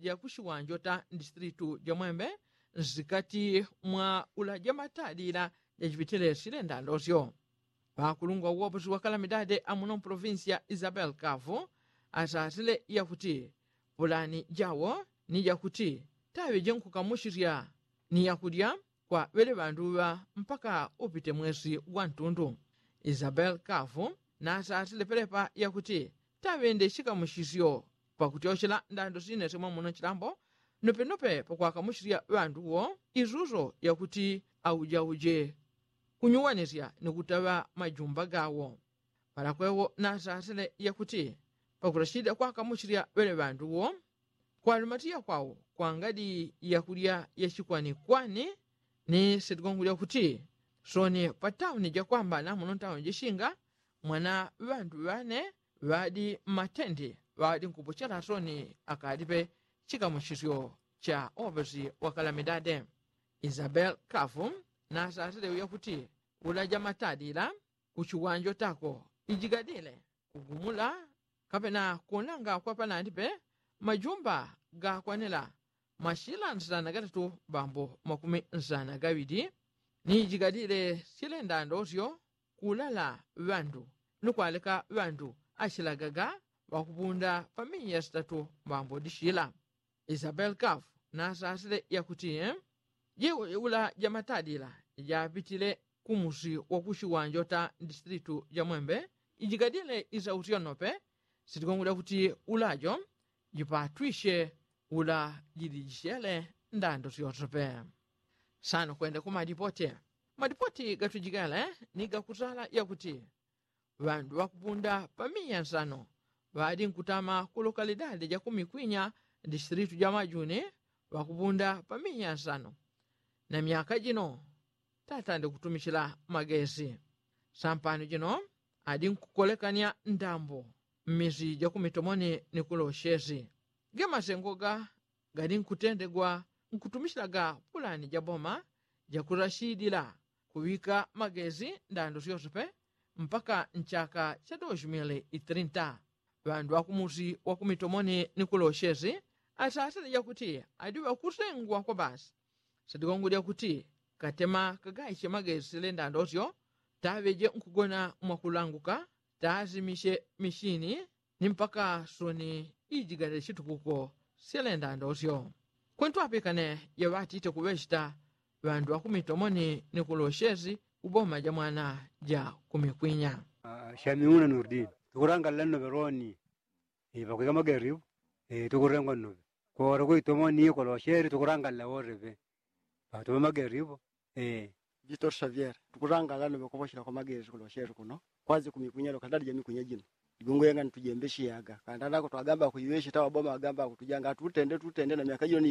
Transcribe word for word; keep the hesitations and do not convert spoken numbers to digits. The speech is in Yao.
ya kushiwanjo ta ndistritu ja mwembe nsikati mwa ulaja matalila jachipitile sile ndandosyo. Pakulungwa uwoposi wa kalamidade amuno mpolovinsi ya isabel kavu asasile yakuti pulani jawo ni jakuti taŵe jenkukamushisya ni yakulya kwa ŵele ŵandu ŵa mpaka upite mwesi gwa ntundu. Isabel kavu nasasile pelepa yakuti taŵende shikamushisyo pakutyoshela ndando sinesemo muno chilambo nopenope pakwakamushisya ŵandu wo isuso yakuti aujauje kunyuwanisya ni kutaŵa majumba gawo. Palakwewo nasasile yakuti pakulashida kwakamushisya ŵele ŵandu wo kwalumatiya kwao kwangadi yakulya yashikwanikwani ni sitigongo lyakuti soni patauni jakwamba namuno ntauni jashinga mwana ŵandu ŵane ŵadi mmatendi ŵadi nkupochela soni akalipe chikamushisyo cha opesi wa kalamidade. Isabel kavu nasasile uyakuti ulaja matalila kuchiwanjo tako ijigadile kugumula kapena kunanga kwa panandi pe majumba gakwanila mashila nsana gatatu bambo makumi nsana gaŵili ni ijigadile silenda ndosyo kulala ŵandu ni kwaleka ŵandu ashilagaga ŵakupunda pamiya sitatu bambo dishila. Isabel kavu nasasile yakuti jiula jamatadila japitile kumusi wakushiwanjo ta ndistritu ja mwembe ijigadile isautyo nope sitikongolya kuti ulajo jipatwishe ula jilijisyele ndando syose pe. Sano kwende kumadipote madipoti gatujikele ni gakusala yakuti ŵandu ŵakupunda pamiya nsano ŵadi nkutama ku lokalidadi ja kumikwinya distiritu ja majuni ŵakupunda pamiya nsano na myaka jino tatande kutumichila magesi. Sampano jino adi nkukolekanya ndambo mmisi ja kumitomoni ni kuloshesi gemasengo ga gali nkutendegwa nkutumishilaga pulani ja boma jakurashidila kuŵika magezi ndando syose pe mpaka nchaka cha doshi mili itrinta. Ŵandu ŵakumusi wakumitomoni ni kuloshesi asasile jakuti adi ŵakusengwa kwa basi sadigongo lyakuti katema kagaiche magezi sile ndando syo taŵeje nkugona mwakulanguka taasimishe mishini ni mpaka soni ijigale chitukuko syelenda ndosyo. Kwentwapikane yaŵatite kuŵechita ŵandu ŵakumitomoni ni kuloshesi uboma ja mwana ja kumikwinya. Shamiuna nurdin tukurangalila nnoŵe loni pakwika mageri tukurengwa nnoŵe kora kuitomoni kuloshesi tukurangalila woreŵe. Patuŵe mageri ipo. Vitor xavier tukurangala noŵe kuŵoshela kwa magezi kulosheli kuno kwazi kumikwinya lokalidadi ja mikwinya jino. Ligungu yenga nitujembeshiyaga kandanako twagamba kuiŵeshi taŵaboma wagamba kutujanga atutende tutende na myaka jino ni.